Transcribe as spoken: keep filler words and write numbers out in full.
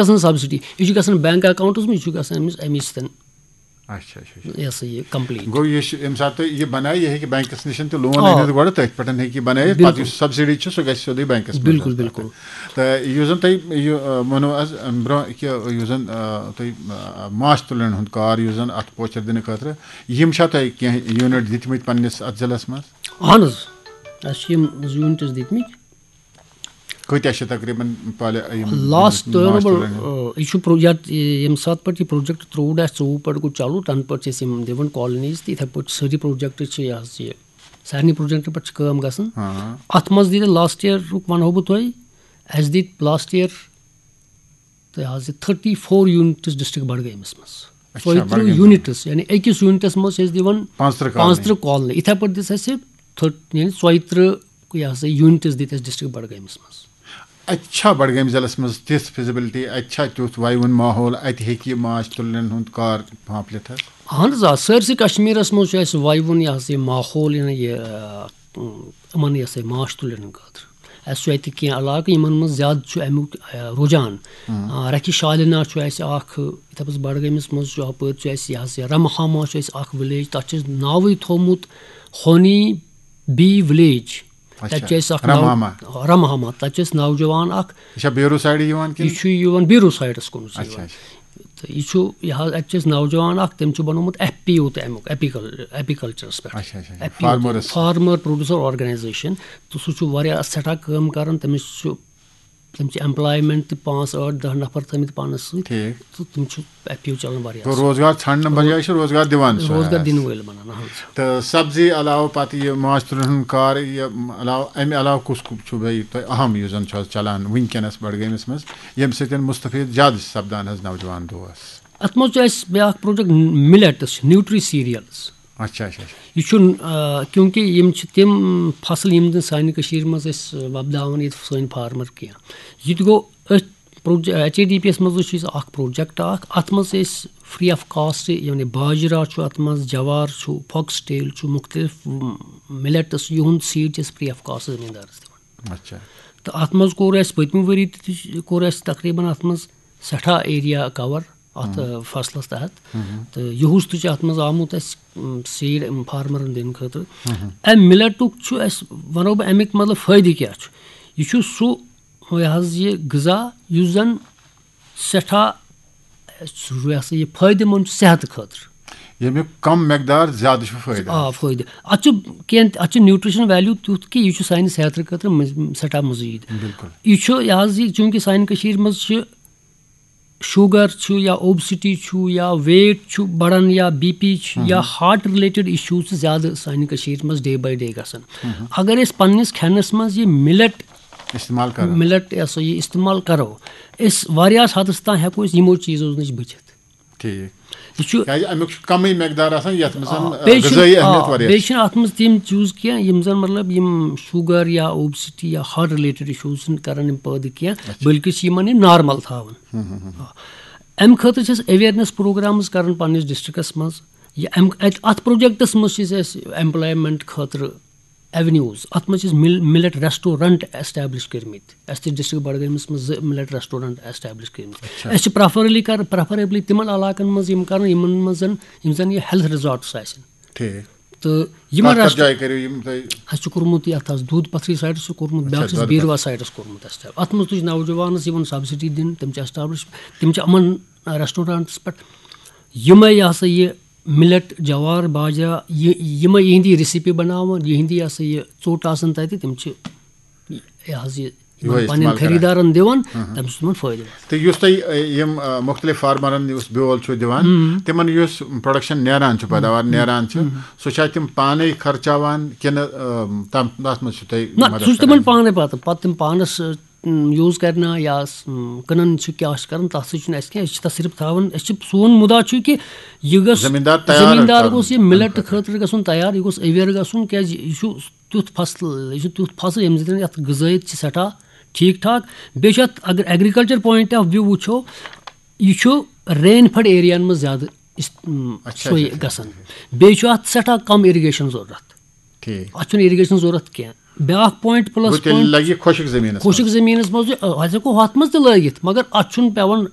گژھان سبسڈی، یہِ چھُ گژھان بینک اکاؤنٹس منٛز، یہِ چھُ گژھان أمِس اَمی سۭتۍ، اچھا اچھا اچھا۔ یہِ ہسا یہِ کمپلیٖٹ۔ گوٚو یہِ چھُ، ییٚمہِ ساتہٕ تُہۍ یہِ بنایہِ، یہِ ہیٚکہِ بینکس نِش تہِ لون آ۔ أنِتھ گۄڈٕ، تٔتھۍ پٮ۪ٹھ ہیٚکہِ یہِ بنٲیِتھ، بِلکُل۔ پتہٕ یُس سبسڈی چھِ سُہ گژھِ سیوٚدُے بینکس منٛز۔ بِلکُل، بِلکُل۔ تہٕ یُس زن تۄہہِ یہِ آ، ووٚنوٕ از برونٛہہ کہِ یُس زن آ، تۄہہِ آ، ماچھ تُلن ہُنٛد کار یُس زن اتھ پوچھر دِنہٕ خٲطرٕ، یِم چھا تۄہہِ کینٛہہ یوٗنٹ دِتمٕتۍ پننِس اتھ ضلعس منٛز؟ اہن حظ، اَسہِ چھِ یِم زٕ یوٗنٹس دِتمٕتۍ۔ کۭتیٛاہ چھِ تقریباً پالہِ یِم لاسٹ ماچھ تُہۍ تُلن؟ یہِ چھُ پرو-، یَتھ، ییٚمہِ ساتہٕ پٮ۪ٹھ یہِ پروجیکٹ ترٛوو اَسہِ، ژوٚوُہ پٮ۪ٹھ گوٚو چالوٗ، تَنہٕ پٮ۪ٹھ چھِ أسۍ یِم دِوان کالونیٖز تہٕ یِتھَے پٲٹھۍ چھِ سٲری پروجیکٹ چھِ یہِ حظ یہِ سارنٕے پروجیکٹن پٮ۪ٹھ چھِ کٲم گژھان۔ ہاں۔ اَتھ منٛز دِتۍ لاسٹ ییرُک وَنہو بہٕ تۄہہِ، اَسہِ دِتۍ لاسٹ ییر تہٕ حظ یہِ تھٔٹی فور یوٗنٹٕس ڈسٹرکٹ بڈگٲمِس منٛز۔ اچھا، ژۄیہِ ترٕٛہ بڈگٲمِس منٛز۔ یوٗنٹٕس، یعنی أکِس یوٗنٹس منٛز چھِ أسۍ دِوان پانٛژترٕٛہ کالنی۔ پانٛژترٕٛہ کالنی۔ یِتھَے پٲٹھۍ دِژ اَسہِ تھٔٹ-، یعنی ژۄیہِ ترٕٛہ یہِ ہسا یوٗنٹٕس دِتۍ اَسہِ ڈسٹرکٹ بڈگٲمِس منٛز۔ اَتہِ چھا بڈگٲمۍ ضلعس منٛز تِژھ فیسبلٹی، اَتہِ چھا تیُتھ وَیوُن ماحول، اَتہِ ہیٚکہِ یہِ ماچھ تُلنٮ۪ن ہُنٛد کار پھانٛپھ لِتھ حظ؟ اہن حظ آ، سٲرسٕے کشمیرس منٛز چھُ اَسہِ وَیوُن یہِ ہسا یہِ ماحول، یہِ یہِ، آ، یِمن یہِ ہسا یہِ ماچھ تُلنہٕ خٲطرٕ۔ اَسہِ چھُ اَتہِ کینٛہہ علاقہٕ یِمن منٛز زیادٕ چھُ اَمیُک آ، رُجحان۔ آ، رکہِ شالنا چھُ اَسہِ اکھ، یِتھے پٲٹھۍ بڈگٲمِس منٛز چھُ، ہُپٲرۍ چھُ اَسہِ یہِ ہسا یہِ رمہاما چھُ اَسہِ اکھ ولیج، تَتھ چھُ اَسہِ ناوٕے تھوٚومُت ہونی بی ولیج۔ اچھا، تَتہِ چھُ اَسہِ اکھ رمہاما۔ ناو رمہاما، تَتہِ چھُ اَسہِ نوجوان اکھ، یہِ چھا بیروٗ سایڈٕ یِوان کِنہٕ؟ یہِ چھُ یِوان بیروٗ سایڈس کُن چھُ اچھا، یِوان۔ اچھا۔ تہٕ یہِ چھُ یہِ حظ، اَتہِ چھُ اَسہِ نوجوان اکھ، تٔمۍ چھُ بنوومُت ایف پی او تہِ اَمیُک، ایپیکل-، ایپیکلچرس پٮ۪ٹھ۔ اچھا، اچھا، اچھا۔ ایف پی او تہِ، فارمرس۔ Farmer producer organization. تہٕ سُہ چھُ واریاہ سٮ۪ٹھاہ کٲم کران، تٔمِس چھُ، تٔمۍ چھِ ایمپلایمنٹ تہِ پانٛژھ، ٲٹھ، دَہ نفر تھٲومٕتۍ پانس سۭتۍ۔ ٹھیٖک۔ تہٕ تِم چھِ ایف پی او چلان واریاہ گوٚو روزگار ژھانڈنہٕ بجایہِ چھِ روزگار دِوان سُہ روزگار حظ۔ دِنہٕ وٲلۍ بنان، اہن حظ۔ تہٕ سبزی علاوٕ پتہٕ یہِ ماچھ تُلن ہُنٛد کار، یہِ علاوٕ، امہِ علاوٕ کُس کُس چھُ بیٚیہِ تۄہہِ اہم یُس زن چھُ آز چلان وٕنکیٚنس بڈگٲمِس منٛز، ییٚمہِ سۭتۍ مُستفید زیادٕ چھِ سپدان حظ نوجوان دوس؟ اتھ منٛز چھُ اَسہِ بیٛاکھ پروجیکٹ مِلیٹس، نیوٗٹری سیٖریلز۔ اچھا اچھا اچھا۔ یہِ چھُنہٕ آ، کیونکہ یِم چھِ تِم فصل یِم زن سانہِ کٔشیٖرِ منٛز أسۍ وۄپداوان ییٚتہِ سٲنۍ فارمر کینٛہہ۔ یہِ تہِ گوٚو أتھۍ پروجے-، ایچ اے ڈی پی یس منٛز چھُ اَسہِ اکھ پروجیکٹ اکھ، اتھ منٛز چھِ أسۍ فری آف کاسٹ، یعنی باجرا چھُ اتھ منٛز، جوار چھُ، فاکس ٹیل چھُ، مُختٔلِف مِلیٹس، یِہُنٛد سیٖڈ چھِ أسۍ فری آف کاسٹ زٔمیٖندارس دِوان۔ اچھا۔ تہٕ اتھ منٛز کوٚر اَسہِ پٔتمہِ ؤری تہِ، تہِ کوٚر اَسہِ تقریباً اتھ منٛز سٮ۪ٹھاہ ایریا کور اتھ، آ، فصلس تحت۔ تہٕ یُہُس تہِ چھُ اتھ منٛز آمُت اَسہِ، م، سیٖڈ، م، فارمرن دِنہٕ خٲطرٕ۔ امہِ مِلیٹُک چھُ اَسہِ، ونو بہٕ، امیُک مطلب فٲیدٕ کیٛاہ چھُ۔ یہِ چھُ سُہ، یہِ حظ، یہِ غذا یُس زن سٮ۪ٹھاہ، یہِ ہسا یہِ فٲیدٕ مند چھُ صحتہٕ خٲطرٕ۔ ییٚمیُک کم مقدار زیادٕ چھُ فٲیدٕ۔ آ، فٲیدٕ۔ اتھ چھُ کینٛہہ، اتھ چھُ نیوٗٹریشن ویلیو تیُتھ کہِ یہِ چھُ سانہِ صحتہٕ خٲطرٕ مز-، سٮ۪ٹھاہ مُزیٖد۔ بِلکُل۔ یہِ چھُ، یہِ حظ، یہِ چوٗنٛکہِ سانہِ کٔشیٖرِ منٛز چھِ شُگر چھُ یا اوبسٹی چھُ یا ویٹ چھُ بڑان یا بی پی چھُ یا ہارٹ رِلیٹڈ اِشوٗز چھِ زیادٕ سانہِ کٔشیٖرِ منٛز ڈے باے ڈے گژھان۔ اگر أسۍ پننِس کھٮ۪نس منٛز یہِ مِلٹ، استعمال کران۔ مِلٹ، یہِ ہسا یہِ استعمال کرو، أسۍ واریاہس حدس تام ہٮ۪کو أسۍ یِمو چیٖزو نِش بٔچِتھ۔ ٹھیٖک۔ یہِ چھُ کیازِ امیُک چھُ کمٕے مقدار آسان یتھ منٛز زن، آ، آ، بیٚیہِ چھُنہٕ، غذٲیی آ، اہمیت واریاہ بیٚیہِ چھِ۔ چھِنہٕ اتھ منٛز تِم چیٖز کینٛہہ یِم زن، مطلب، یِم شُگر یا اوبسٹی یا ہارٹ رِلیٹڈ اِشوٗز چھِنہٕ کران یِم پٲدٕ کینٛہہ، بلکہِ چھِ یِمن یہِ نارمل تھاوان۔ آ۔ امہِ خٲطرٕ چھِ أسۍ اویرنس پروگرامز کران پننِس ڈسٹرکٹس منٛز۔ یہِ امہِ، اتہِ، اتھ پروجیکٹس منٛز چھِ أسۍ ایمپلایمنٹ خٲطرٕ ایونیوز، اتھ منٛز چھِ أسۍ مِل-، مِلٹ ریسٹورنٹ ایسٹیبلش کٔرمٕتۍ۔ اَسہِ تہِ ڈسٹرکٹ بڈگٲمِس منٛز زٕ مِلٹ ریسٹورنٹ ایسٹیبلش کٔرمٕتۍ۔ أسۍ چھِ پریفرلی کر-، پریفریبلی تِمن علاقن منٛز یِم کران، یِمن منٛز زن، یِم زن یہِ ہیلتھ ریزارٹس آسن۔ ٹھیٖک۔ تہٕ یِمن کتھ کتھ ریسٹ-، جایہِ کٔرِو یِم تۄہہِ؟ اَسہِ چھُ کوٚرمُت یتھ حظ دودھ پتھری سایڈس چھُ کوٚرمُت، بیٛاکھ چھُ دۄدٕ بیٖروا سایڈس کوٚرمُت اَسہِ۔ اتھ منٛز تہِ چھِ نوجوانس یِوان سبسڈی دِنہٕ، تِم چھِ ایسٹیبلش، تِم چھِ یِمن ریسٹورنٹس پٮ۪ٹھ یِمے، یہِ ہسا یہِ مِلٹ، جوار، باجرا، یہِ، یِمے یِہِنٛدی ریسیپی بناوان، یِہِنٛدی، یہِ ہسا یہِ ژوٚٹ آسان تتہِ، تِم چھِ یہِ حظ یہِ یِمن یِہوٚے پننٮ۪ن استعمال کران۔ خریدارن دِوان، تَمہِ سۭتۍ تِمن فٲیدٕ واتان۔ تہٕ یُس تۄہہِ، اَ، یِم، اَ، مُختٔلِف فارمرن یُس بیول چھُ دِوان، تِمن یُس پروڈکشن نیران چھُ، پیداوار نیران چھُ، سُہ چھا تِم پانے خرچاوان کِنہٕ، اَ، تَم، تَتھ منٛز چھُ تۄہہِ نہ، مدد سُہ چھُ کران؟ تِمن پانے پتہٕ، پتہٕ تِم پانس، ٲ، یوٗز کرنا یا س-، کٕنان چھِ، کیٛاہ چھِ کران، تَتھ سۭتۍ چھُنہٕ اَسہِ کینٛہہ۔ أسۍ چھِ تَتھ صرف تھاوان، أسۍ چھِ، سون مُدا چھُ کہِ یہِ گژھِ، زٔمیٖندار تیار زٔمیٖندار کرُن گوٚژھ یہِ اَمہِ مِلٹ خٲطرٕ۔ خٲطرٕ گژھُن تیار، یہِ گوٚژھ اویئر گژھُن، کیٛازِ یہِ چھُ تیُتھ فصل، یہِ چھُ تیُتھ فصل ییٚمہِ سۭتۍ یَتھ غذٲیت چھِ سٮ۪ٹھاہ ٹھیٖک ٹھاک۔ بیٚیہِ چھُ اَتھ، اگر ایگریکلچر پوینٹ آف ویو وٕچھو، یہِ چھُ رین فڈ ایریاہن منٛز زیادٕ است-، م، اچھا، سُے اچھا، اچھا، گژھان۔ بیٚیہِ چھُ اَتھ سٮ۪ٹھاہ کم اِرِگیشن ضروٗرت۔ ٹھیٖک۔ اَتھ چھُنہٕ اِرِگیشن ضروٗرت کینٛہہ۔ بیٛاکھ پویِنٛٹ، پٕلَس گوٚو تیٚلہِ پویِنٛٹ، لگہِ یہِ خۄشک زٔمیٖنَس خۄشک منٛز۔ زٔمیٖنَس منٛز یہِ، اَتھ ہٮ۪کو ہۄتھ منٛز تہِ لٲگِتھ، مگر اَتھ چھُنہٕ پٮ۪وان